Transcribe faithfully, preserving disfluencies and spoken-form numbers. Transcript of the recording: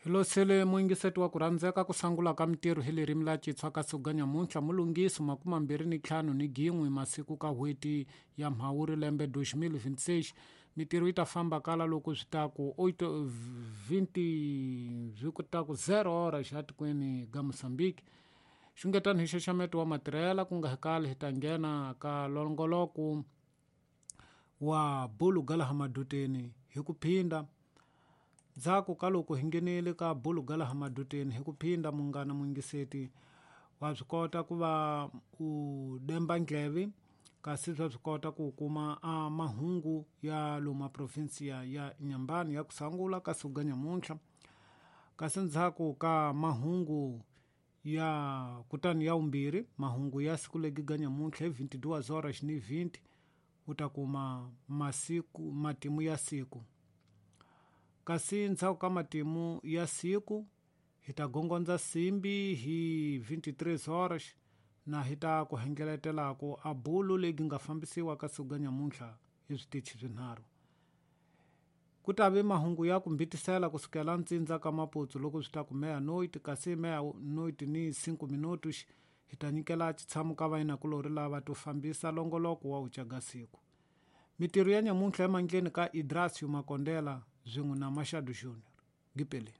Hi losele muyingiseti wa ku rhandzeka ku sangula ka mintirho hi ririmi la Xitsonga ka siku ga nyamuntlha mulungisi makume ni ntlhanu ni gin'we masiku ka n'hweti ya Mhawuri lembe dois mil vinte e seis. Mintirho yi ta famba kala loko swi ta ku oito vinte swi ku ta ku zero horas xa tikweni ga Mozambique. Xungetani hi xaxameto wa matirhela ku nga hi kali hi ta nghena ka longoloko wa bulu ga laha maduteni hi ku phinda. Ndzhaku ka loko hi nghenile ka bulu ga laha maduteni hi ku phinda munghana muyingiseti wa swi kota ku va u demba ndleve kasi swa swi kota ku kuma a mahungu ya lomu provinsia ya Inhambane ya ku sangula ka siku ga nyamuntlha. Kasi ndzhaku ka mahungu ya kutani ya vumbirhi mahungu ya siku legi ga nyamuntlha hi vinte e duas horas ni vinte u ta kuma masiku matimu ya siku. Kasi ndzhaku ka matimu ya siku hi ta gongondza simbi hi vinte e três horas na hi ta ku hengeletelaku a bulu legi nga fambisiwa ka siku ga nyamuntlha hi switichi swinharhu. Ku ta ve mahungu ya ku mbitisela kusukela ntsindza ka Maputo loko swi ta ku meia-noite kasi meia-noite ni cinco minutos hi ta nyikela xitshamo ka vayinakulorhi lava to fambisa longoloko wa uca ga siku. Mintirho ya nyamuntlha emandleni ka Idrasio Makondela swin'we na Machado Junior. Gipeleni.